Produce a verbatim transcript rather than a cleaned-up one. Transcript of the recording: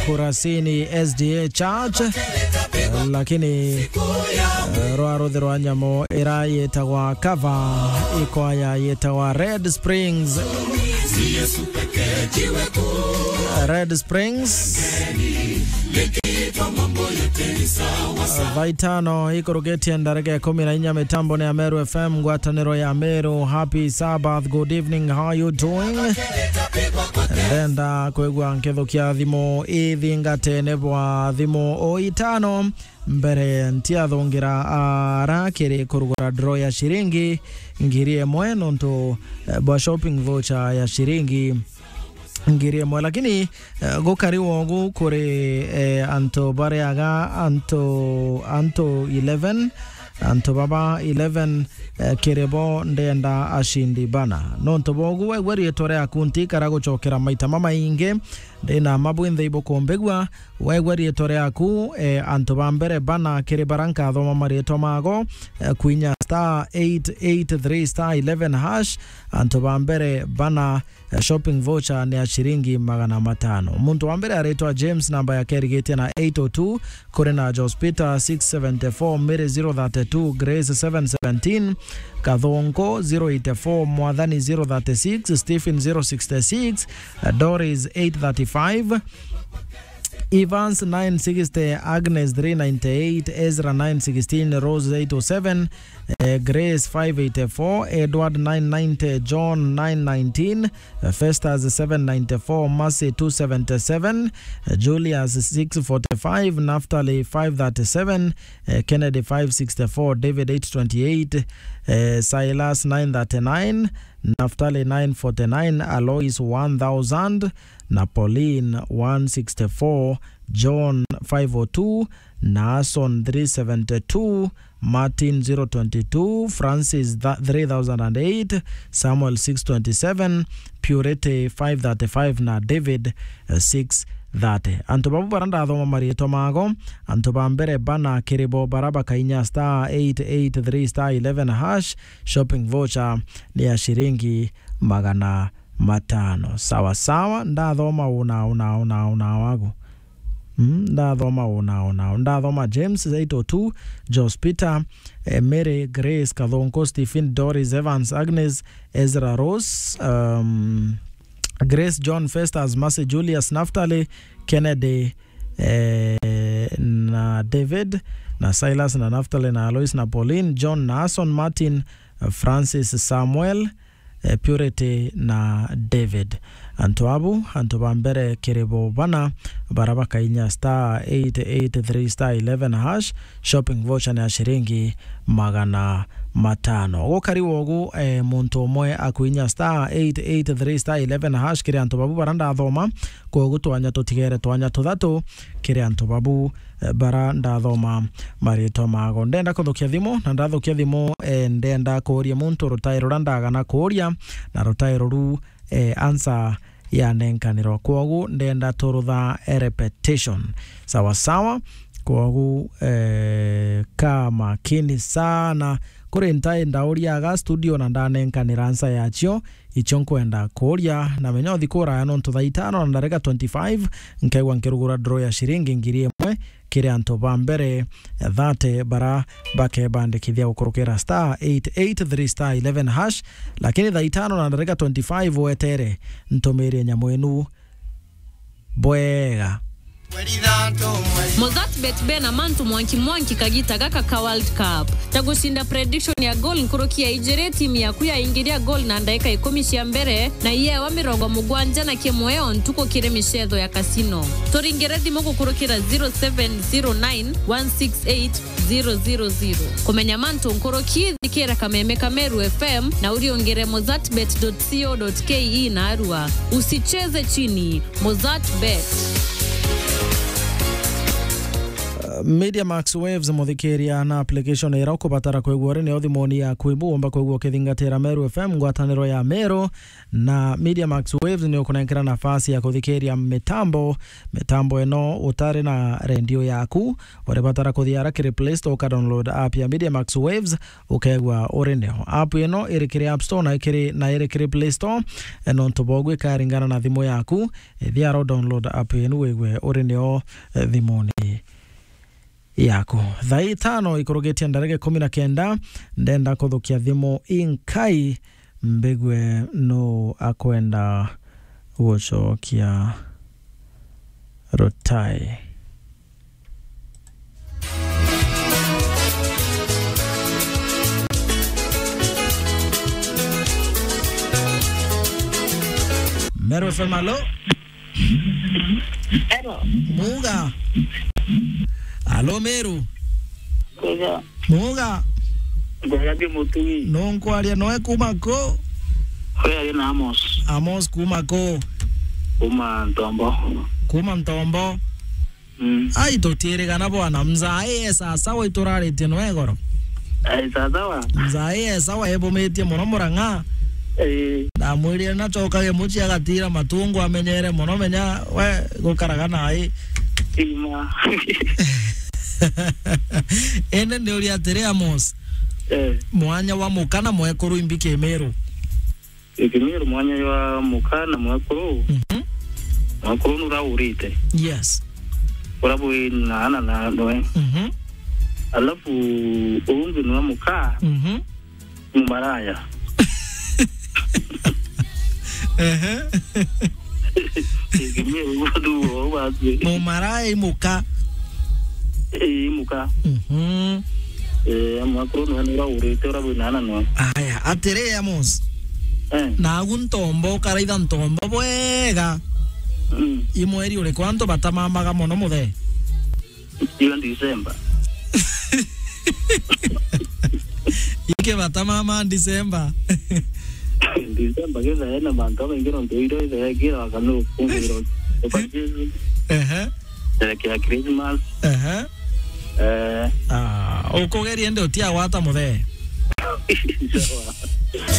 Kurasini S D A Church, lakini, eh, rwa ruthi rwa nyamu ira yitagwa Kava, ikwaya yitagwa Red Springs. Red Springs. Thaa itano ikurukitie ndarika ikumi na inya, mitambo ni ya Meru F M, ngwataniro ya Meru. Happy Sabbath, good evening, how you doing? Ndenda kwigua nkithukia thimu ithingatene bwa thimu o itano mbere ntiathungira ara kiri kurugura draw ya ciringi ngiri imwe nontu, eh, bwa shopping voucher ya ciringi ngiri imwe. Lakini, eh, gukari wogu kuri, eh, antu bariaga antu, antu eleven, antu baba eleven, eh, kiri bo ndenda ashindi bana. Nontu bogu waigua riitwa riaku ntikara gucokera maita mamaingi, ndina mabwinthe ibukumbigua, waigua riitwa riaku, eh, antu ba mbere bana kiri bara nkathoma mariitwa mago, eh, kwinya star eight eight three star eleven hash, antu ba mbere bana, eh, shopping voucher ni ya ciringi magana matano. Muntu wa mbere aritwa James, namba yake irigitie na eight oh two, kuri na Jospita six seventy four, Mary zero thirty two, Grace seven seventeen, Kathongo zero eighty four, Mwathani zero thirty six, Stephen zero sixty six, eh, Doris eight thirty five, Evans nine sixty, Agnes three ninety eight, Ezra nine sixteen, Rose eight oh seven, eh, Grace five eighty four, Edward nine ninety, John nine nineteen, eh, Festus seven ninety four, Mercy two seventy seven, eh, Julius six forty five, Naftali five thirty seven, eh, Kennedy five sixty four, David eight twenty eight, eh, Silas nine thirty nine, Naftali nine forty nine, Alois one thousand, na Pauline one sixty four, John five oh two, Nason three seventy two, Martin zero twenty two, Francis three thousand and eight, Samuel six twenty seven, Purity five thirty five, na David, eh, six thirty. Antu babu bara ndathoma mariitwa mago, antu ba mbere bana kiri bo bara bakainya star eight eight three star eleven hash, shopping voucher ni ya ciringi magana matano. Sawa sawa, ndathoma una, una, una, una wagu. Mm, ndathoma una, una, ndathoma James eight oh two, Jos Peter, eh, Mary, Grace, Kathonko, Stephen, Doris, Evans, Agnes, Ezra, Rose, um, Grace, John, Festus, Mercy, Julius, Naftali, Kennedy, eh, na David, na Silas, na Naftali, na Alois, na Pauline, John, na Ason, Martin, eh, Francis, Samuel, eh, Purity na David. Antu abu, antu ba mbere kiri bo bana, bara bakainya star eight eight three star eleven hash, shopping voucher ni ya ciringi magana matano. Gukari wogu, eh, muntu umwe akuinya star eight eight three star eleven hash kiri antu babu bara ndathoma, kogu twanya tutigere twanya tuthatu kiri antu babu eh, bara ndathoma maritwa mago. Ndenda kuthukia thimu, na ndathukia thimu, eh, ndenda kuuria muntu rutai ruria ndagana kuuria, na rutai ruru, eh, answer yanenkanirwa. Kwogu ndenda turutha, eh, repetition. Sawa sawa. Kwogu, eh, ka makini sana. Kuri ntai ndauriaga studio na ndanenkanira answer yacio. Icio nkwenda kuuria, na menya uthi kuraya nontu thaa itano na ndarika twenty-five, nkaigua nkirugura draw ya ciringi ngiri imwe kiri antu ba mbere thate bara bakebandikithia gukurukira star eight eight three star eleven hash, lakini thaa itano na ndarika twenty-five wetere ntumirie nyamu inu bwega. Mozart bet bena mantu mwanki mwanki kagita gaka ka World Cup. Ta gucinda prediction ya goal nkuruki ya ijiri, timu yaku yaingiria goal na ndaika ikumi cia mbere, na iyewa mirongo mugwanja na kimwe o ntuku kiri micetho ya casino. Turingire thimu gukurukira zero seven zero nine one six eight zero zero zero. Kumenya mantu nkuruki, thikira kameme ka Meru F M na uriungire mozartbet dot co dot K E na arua. Usicheze chini. Mozart Bet. Media Max Waves, muthikiria, na application iria ukubatara kwigua uri nio thimuni yaku. Ibu umba kwigua ukithingatira Meru F M, ngwataniro ya Meru, na Media Max Waves ni ukunenkera nafasi ya kuthikiria mitambo. Mitambo ino utari na rendio yaku, uribatara kuthia ara kiri Play Store, uka download app ya Media Max Waves, ukegua uri nio. App ino iri kiri App Store na ikiri, na iri kiri Play Store, e, nontu bogu ikaringana na thimu yaku. Ethia aro download app yenu wigwe uri nio, eh, thimuni yaku. Thaa itano ikurugitie ndareke kumi na kenda, ndenda kuthukia thimu inkai mbigwe nu akwenda gucokia rutai. Meru F M, alo? Hello. Muga. Alo, Meru. Kwega. Muga. Kwega ndi Mutui. Nu nkwaria noe kuma ku? Kwega ndi na Amos. Amos kuma ku? Kuma Ntombo. Kuma Ntombo. Mm. Ai, tutiirigana bwana, mzai e sasawa ituraritie noe goro. Ai, sasawa. Mzai e sawa, ebumitie mono Murang'a. Eh. Ndamwirire nacokage mucii agatira matungu amenyere mono, menya we gukaraga nai. Ima. Ene ni uri atiri, Amos. Eh. Mwanya wa muka na mwekuru imbi Kimiru? Kimiru mwanya jwa muka na mwekuru. Mhm. Mwekuru nuraurite. Yes. Ura bwi na ana na noe. Mhm. Alafu ungi nwa muka. Mhm. Mumaraya. Ehe. Kimiru gudu wo watu. Mumaraya imuka. Eh, imuka. Mhm. Eh, mwekuru nwe nuraurite ura bwi na ana nwe. Aya, atiri, Amos. Eh. Nagu Ntombo, ukaraitha Ntombo bwega. Mm. I mweri uriku antu batamamaga mono muthe? Iyo December. Iki batamama December. December githae na mantu amaingi nontu iro ithae kira wakanu kungwiro. Ehe. Sherekea Christmas. Ehe. Eh. Ah, ukugeria ndi utiagwata muthe? Sawa.